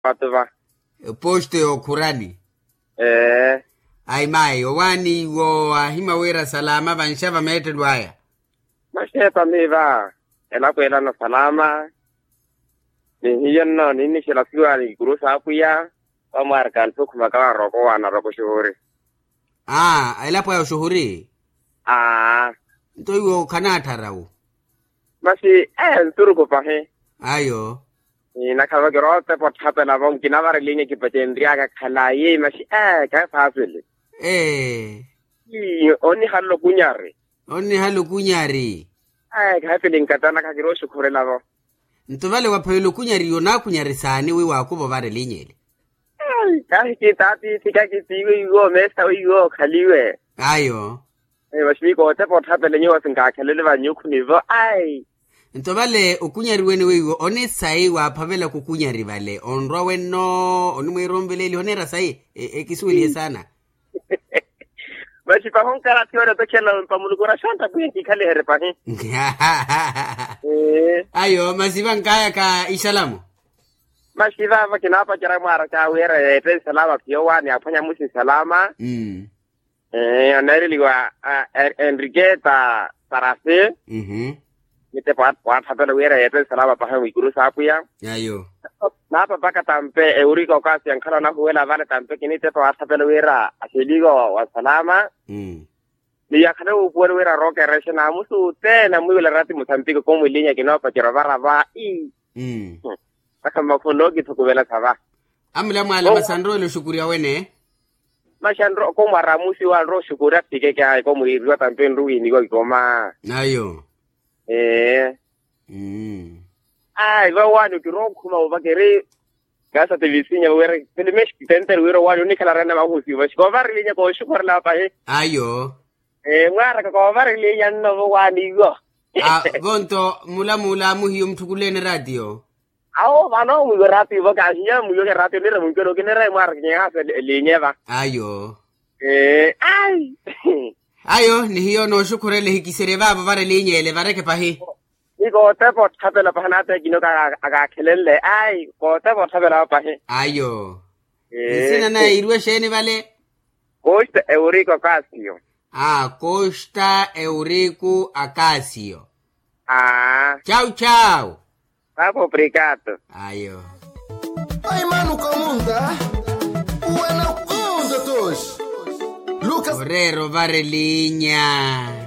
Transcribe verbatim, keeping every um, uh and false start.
Vatu va. Posto yookhurani. Ee. Ayi mayi owaani iwo aahima wira salama vanxa vameettelo aya. Maxeepa miiva. Elapo elana salama. Ni hiyo nno ninnixela siwaani ikuru saapwiya. Vamwaarika anthu okhumaka varooko waana rooko xuhuri. Aa elapo aya oxuhuri. Aa. Nto iwo khanaattharau. Masi ee nturuku pahi. Ayo. Nakhala vakira otepa otthapela vo nkinavara elinya kipacenryaka khalayi masi ee khayi faasili. Ee. Ii onnihala okunyari. Onnihala okunyari. Ee khayi fili nkatana khakira oxukhurela vo. Nto vale waphavela okunyari onaakunyari saani wi waakuva ovara elinya ele? Kahi kitaatiithi kakitiiwe iwo meesa weiwo okhaliwe. Ayo. Masi miiko otepa otthapela nyuwo sinkakhelele vanyukhuni vo ai. Nto vale okunyari wene weiwo onisayi waaphavelaka okunyari vale onrwa wenno onimwiira onveleeliha oneera sayi. Ekisuwelihe saana. Masi pahi onkarathi ori otekhelela ompa muluku oraxonta pwiya nkikhaliherye pahi. Ayo masi vankayaka isalamo. Masi vava kinaapacerya mwaaraka wira yeette nsalama phiyo waani aphwanya musi nsalama. Oneereliwa enriqueta. Sarasi. Nitepo waatthapelela wira yeette nsalama pahi mwikuru saapwiya. Ayo. Naapapaka tampe ewurika okaasi yankhala onahuwela vale tampe kinitepo waatthapelela wira axeliko wa nsalama. Ni yakhale wuupuwela wira rookerexe naamusi othene amwiiwela erati musampiki komwilinya kinoopacerya ovara va ii. Masi mmakhunno okithukuvelasa va. Amulamwaala masi anrowela oxukurya wene. Masi anro komwara amusi wa anro oxukurya asikeke ayi komwiiriwa tampe nruwiiniwa ikoma. Ayo. Ee. Ayi vawaani okirookhuma ovakeri. Kaasa ti visinya wira filime tentere wira owaani onikhala arena mahusiwa xikovarilinya kooxukhorela pahi. Ayo. Ee mwaaraka koovarilinya nno vowaani iwo. Vonto mulamuula amuhiyo mutthukuleeni eraatiyo. Awo vano mwiiwe eraatiyo vo kahinya mwiiweke eraatiyo nira mwiiweke eraatiyo nira mwaaraka kinyahaasa elinya va. Ayo. Ee ai. Ayo ni hiyo nooxukhurela ehikiserye vaavo vara elinya ele vareke pahi. Ni kootepa otthapela pahi naata ekinoka akaakhelenle ai kootepa otthapela va pahi. Ayo. Nsina naye iiriwe exeeni vale? Costa eurico casio. Aa costa eurico acasio. Aa. Chau chau. Papo obrigado. Ayo. Ai manu komunta. Wena konta tos. Lucas orero varelinya.